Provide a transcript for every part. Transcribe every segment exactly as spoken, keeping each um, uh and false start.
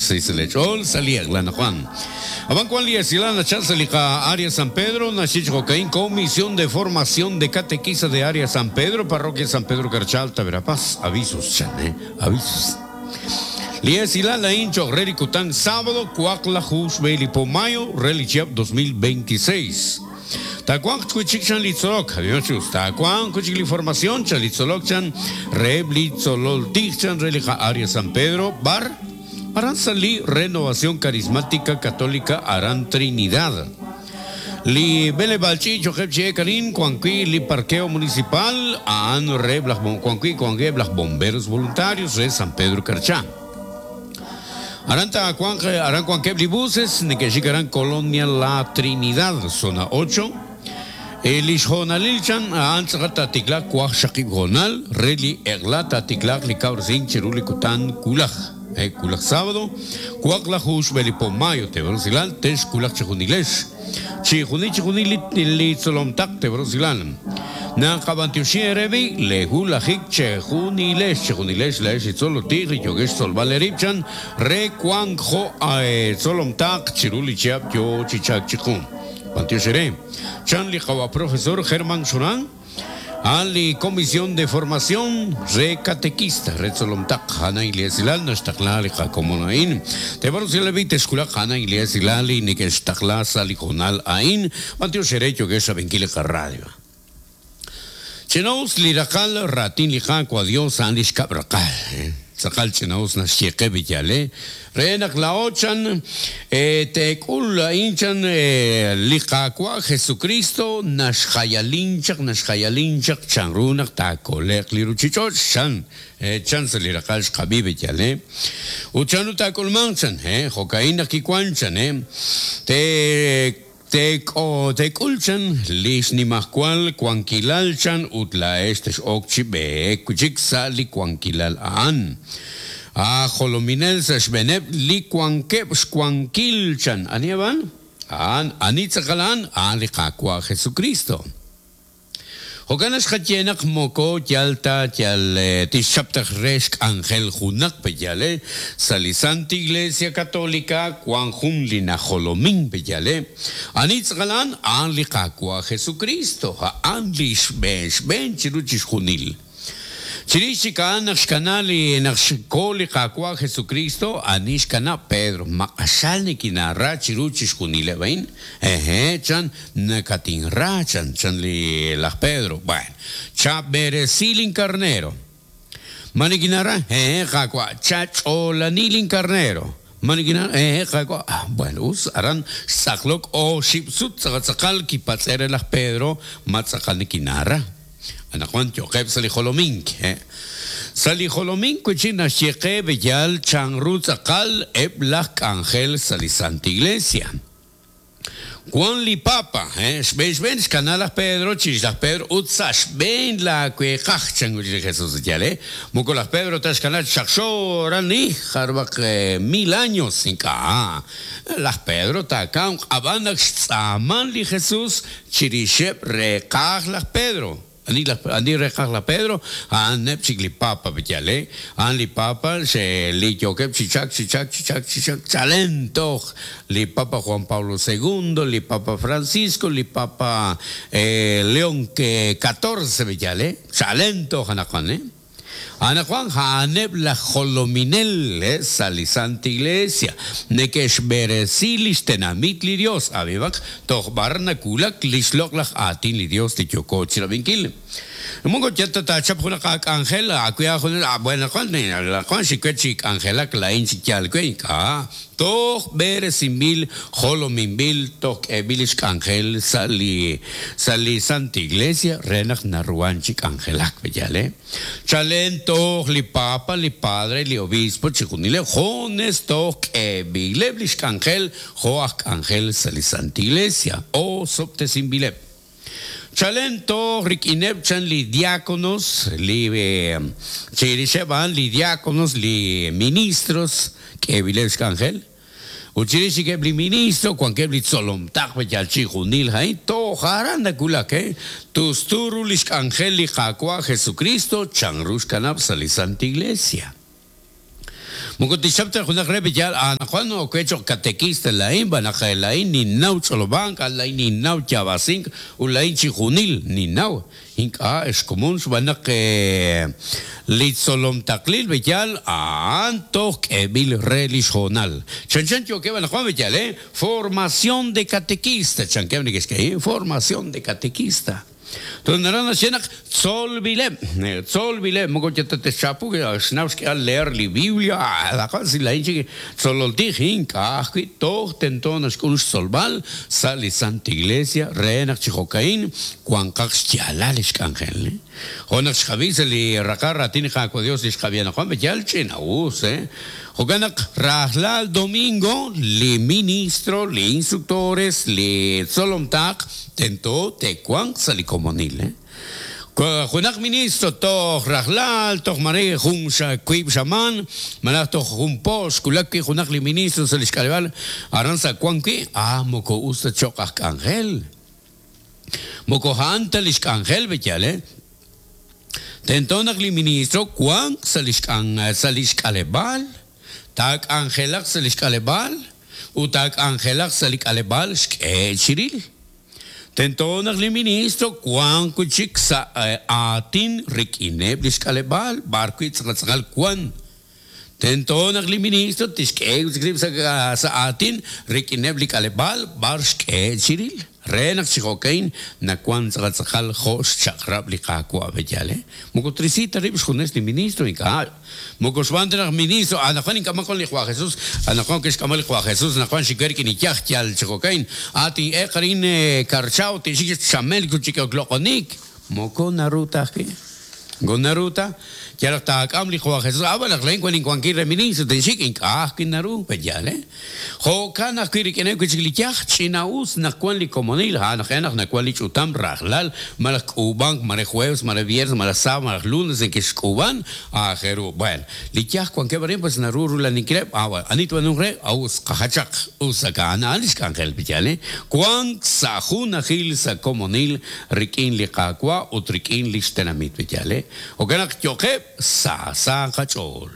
Sisle Chol, Salí Juan. Aban Juan Liesilana Chazalica, Área San Pedro, Nachichjocaín, Comisión de Formación de Catequista de Área San Pedro, Parroquia San Pedro Carchalta, Verapaz. Avisos, chan, eh, avisos. Liesilala Incho, Rericután, sábado, Cuacla, Jus, Mayo, Relichiap dos mil veintiséis. Tacuan cuchichan litzolok, adiós, tacuan cuchicli formación, chalitzolok chan, reblitzolol tichan, relija Área San Pedro, Bar, Arán Salí, Renovación Carismática Católica, Arán Trinidad. Li Bele Balchicho, Jepche Karin, Cuanqui, Li Parqueo Municipal, Aan Reblas, Cuanqui, Cuangueblas, Bomberos Voluntarios, de San Pedro Carchá. Aranta Cuanque, Arán Cuanquebli Buses, Nequechicarán Colonia La Trinidad, zona ocho. El Isjonalilchan, Antzagata Ticlac, Cuaj Shakib Jonal, Reli Eglata Ticlac, Licaurcin, Cherulicután, Kulaj. Eh, Kulaj sábado, Cuacla Jush, Belipomayo, Tebrosilan, Tesh, Kulaj Chejunilesh. Chijuni, Chijuni, Litzolomtac, Tebrosilan. Nancabantiushi Erebi, Lehulajik, Chejunilesh, Chejunilesh, Lesh, Itzolotig, Yogesh, Solvaleripchan, Re, Cuanjo, Solomtac, Chirulichiap, Yo, Chichac, Chikun. Pantioshere. Chanli Jawa, profesor Germán Shurán, Ali Comisión de Formación, Re Catequista, Re Solomtac, Hana Ileasilal, Nashtakla, Jacomonain, Tebarusilevi, Tescula, Hana Ileasilali, Nikestakla, Salijonal, Ain, Pantioshere, Yogesh, Abenquile, Radio. Chenaus lirakal ratin lijakua Dios anish kabrakal. Sakal chenaus nashieke villale. Renak la ochan tekul inchan lijakua Jesucristo nashhayalinchak nashhayalinchak chanrunak takolek liruchichoch chan chan se lirakal shkabi villale. Uchanu takolmanchan eh jokaina kikuanchan eh te Tek o tekulchan, lisnimahkual, kuankilalchan, utla estes okchibe, kuchiksa li kuankilal aan. A jolominel sashbeneb li kuankeb xkuankilchan. ¿Aniaban? An, anitzakalan, an li kakua Jesucristo. Jokanas xatyenak moko yalta yal tixaptaj reshk angel junak peyale salisante Iglesia Católica cuan junlina jolomin peyale anitzgalan an liqakua Jesucristo an lishbesh ben chiruchis junil Chirichika naxkanali naxkoli kakua Jesucristo anishkana Pedro maqashalnikina ra chiruchis junile bain eje chan nakatin ra chan chan li las Pedro bueno cha beresilin carnero manikinara eje kakua chacholanilin carnero Manikina eh kakua bueno us aran saklok o shipsut sakatsakal kipatzere las Pedro matzakalnikinara Anajuan yoqeb salijolomink, eh. Salijolomink kuchina sheqeb yal chanrutzakal eblak ángel salisante iglesia. Juan li papa, eh, shbesh kanalas Pedro, chislas Pedro, utsash ben la cuejach changuchi Jesús yale. Mucolas Pedro tas canal shakshorani, jarbak mil años sin ka. Las Pedro takam abanak tzaman li Jesús, chirishep rekaj las Pedro. Ani la ani rekaj la Pedro, an nepchik li papa betiale, an li papa se li yokep chichak chichak chichak chichak chalento, li papa Juan Pablo segundo, li papa Francisco, li papa eh, León catorce betiale, chalento hanakane. Ana Juan Haneb la jolominel eh, salisante iglesia nekesh beresilis tenamit li Dios abibak tohbarna kulak lishlok laj atin li Dios li yokoch rabinkil. Mungo chata ta chap juna kak angel akuya juna buena Juan la Juan shikechik angela klain chikyal ka toh beresimbil jolomimbil tok ebilish angel sali sali santa iglesia renak naruan chik angelak bellale chalen toh li papa li padre li obispo chikunile jones tok ebileblish angel joak angel sali santa iglesia o soptesimbileb Chalento rikineb chan li diáconos li chirisheban li diáconos li ministros que bilebsh angel Uchirishi que bli ministro cuan que bli tzolom tak yalchi junil hain to jaranda kulak tusturu lish angel li jakua Jesucristo chanrush kanab sali santa iglesia. Moko tixchap ta junaq re b'iyal anaqwan oke cho'q catequista laa'in b'anaq laa'in ninnaw ch'olob'ank laa'in ninnaw yaab'asink ut laa'in chi junil ninnaw ink'a' xkomon xb'aan naq li tzolom taqlil b'iyal a'an toj k'eeb'il re li xhoonal chanchan yookeb' anaqwan b'iyal eh formación de catequista chankeb' neke'xk'e formación de catequista. Entonces naraj naxye naq tzolb'ileb' tzolb'ileb' moko yatatechapu xnaw xk'eal leer li Biblia laqan si laa'in chik tzololtij ink'a' ajwi' toj tento naxk'ul xtzolb'al sa' li Santa Iglesia re naq chi jo'ka'in wanqaq xyaalal li xk'anjel. Jo' naq xqab'i sa' li raqal raatin li Qaawa' Dios li xqab'i anaqwan b'iyal ch'ina'us eh jo'kan naq rajlal domingo li ministro li instructores li tzolomtaq tento te'wanq sa' li komonil eh junaq ministro toj rajlal toj mare jun wiib' xamaan malaj toj jun po xkulak wi' junaq li ministro sa' li xk'aleb'aal aran sa' wan wi' ah moko us ta cho'q aj k'anjel moko a'an ta li xk'anjel b'iyal eh tento naq li ministro wanq sa' li xk'an sa' li xk'aleb'aal taak'anjelaq sa' li xk'aleb'aal ut taak'anjelaq sa' li k'aleb'aal xk'e chiril. Tento naq li ministro wanq wi' chik sa' aatin rik'ineb' li xk'aleb'aal b'ar wi' tz'aqal wan. Tento naq li ministro tixk'e wi' chik rib' sa' sa' aatin rik'ineb' li k'aleb'aal b'ar xk'e chiril. Re naq chi jo'kain nawan tz'aqal tz'aqal jo' xchaq'rab' li Qaawa' b'eyal eh moko trisita rib' xjunes li ministro ink'a' moko xb'aan ta naq ministro anaqwan ink'aman li Juan Jesús anaqwan kixk'ama li Juan Jesús anaqwan xikwer rik'in iyaj yal chi jo'kain atin eqarin karchaw tixik chamel chik loq'onik moko naru ta ajwi' moko naru ta yalaq taak'am li Juan Jesús ah naq laa'in wan inwankil re ministro tinxik ink'a' ajwi' naru b'eyal eh jo'kan ajwi' rik'ineb' wi' chik li yaj ch'ina'us naq wan li komonil ha naq naq nawan li ch'utam rajlal malaj k'uub'ank mare jueves mare viernes malaj sábado malaj lunes neke'xk'uub'an aajel ru bueno li yaj wankeb' arin pues naru rulaninkileb' ah bueno ani tb'anunk re us qajachaq us a'an a'an li xk'anjel b'iyal eh wank sa' junajil sa' komonil rik'in li Qaawa' ut rik'in li xtenamit b'iyal eh jo'kan naq yo'qeb' sa' sa' qach'ool.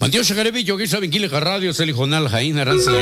Mantiox Jarebi, yo'qeb' xrabinkil li radio sa' li jonal Jaín aran sa'